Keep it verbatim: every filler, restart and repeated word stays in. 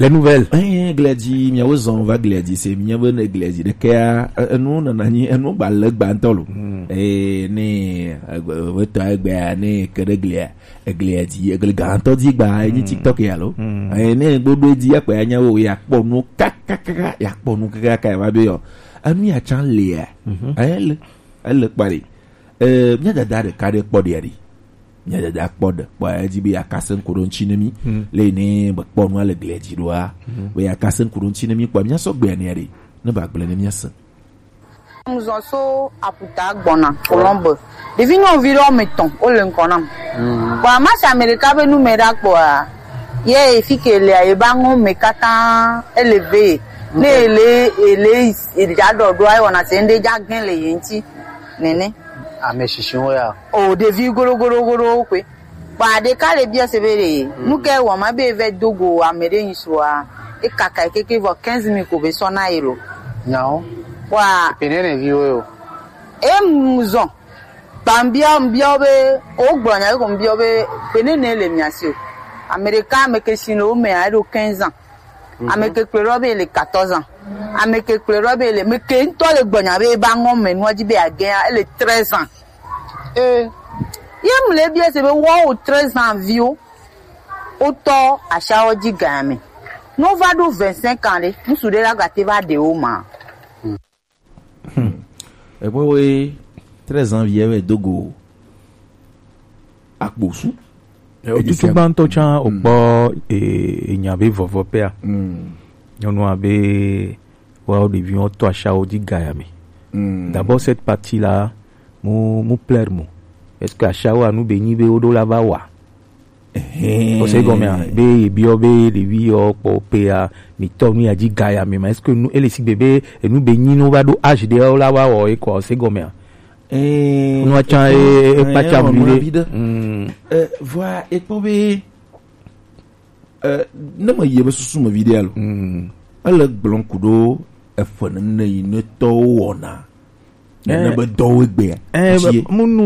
Les nouvelles. Eh, Gledi, miawo zɔn va Gledi, se mia be ne Gledi ɖekea, e- enu nana nyi, enu gba le gba ŋutɔ lo. Eh, ne, egbe, wetɔ egbea, ne ke ɖe Glia, Gledi, egle gã ŋutɔ di gba, enyi TikTok ya lo. Eh, ne gbodo di akpa ya nya wo, ya kpɔ nu kakakaka, ya kpɔ nu kakaka, ya va be yɔ. Enu ya tsan lia. Eh, le, ele kpa ɖe. Eh, mia dada ɖeka ɖe kpɔ ɖe ya ɖe. Mia dada kpɔ ɖe kpɔ edzi be yeakase ŋku ɖo ŋuti ne mí. Le yi ne mekpɔ nua le glia dzi ɖoa, be yeakase ŋku ɖo ŋuti ne mí kpɔ míasɔ gbea nea ɖe, ne ba gblẽ ne míase. Mzɔn so aputa gbɔna Colombe. Ɖevi nyɔnuvi ɖe wɔme etɔ̃ wole ŋgɔ nam. Bon, amasi Amerika be nu me ɖa kpɔa, ye fi ke lea, ye ba ŋɔ me katã ele ve. Ne ele, ele, ele dza ɖɔ ɖoa, ewɔna se ŋɖe dza gẽ le ye ŋuti. Nene. Ame shishi wo ya. O ɖevi goɖo goɖo goɖo kpe. Kpa ɖeka le biɔ se be ɖe, nu ke wɔ ma be vɛ do go ame ɖe nyi sua, e kaka keke vɔ quinze mille ko be sɔ na ye lo. Nyawo. Wa. Pene ne vi wo yo. E mu zɔn. Kpa mbiɔ mbiɔ be, o gblɔ nya ko mbiɔ be, pene ne le mia si o. Ame ɖeka ame ke si le wo me a eɖo quinze ans. Ame ke kplɔe ɖɔ be ele quatorze ans. Ame ke kplɔe ɖɔ be ele, ame ke ŋutɔ le gbɔnya be eba ŋɔ me nua dzi be agɛa, ele treize ans. Eh. Ye mu le bia se be woawo treize ans viwo, wotɔ ashawo dzi gã me. Ne wova ɖo vingt-cinq ans ɖe, ŋutsu ɖe la gate va ɖe wo ma. Hmm. Ekpɔ be treize ans vie wɛ do go akposu. Eh, otutu gbãtɔ tsã, hmm, okpɔ, eh, enya be vɔvɔ pɛa. Hmm. Nyɔnua be woawo ɖeviwo tɔ ashawo dzi gaya me. Hmm. D'abord, cette partie-là, mu, mu plaire mo. Est-ce que ashawo anu be nyi be woɖo la va wa? Ehɛn. Ose gɔmea, be yebiɔ be ɖevi yɔ kpɔ pea, mi tɔ nu ya dzi gaya me ma. Est-ce que nu, ele sigbe be enu be nyi no va ɖo âge ɖe la va wɔ ekɔ, ose gɔmea? Eh, nua tsã, eh, e, e kpatsa eh, vi ɖe. Mm. Eh, vɔa, ekpɔ be, eh, ne me yie be susu me vi ɖe alo. Mm. Ele gblɔm ku ɖo eƒe nene yi ne tɔwo wɔna. Eh. Nene be dɔwo egbea. Eh, be, munu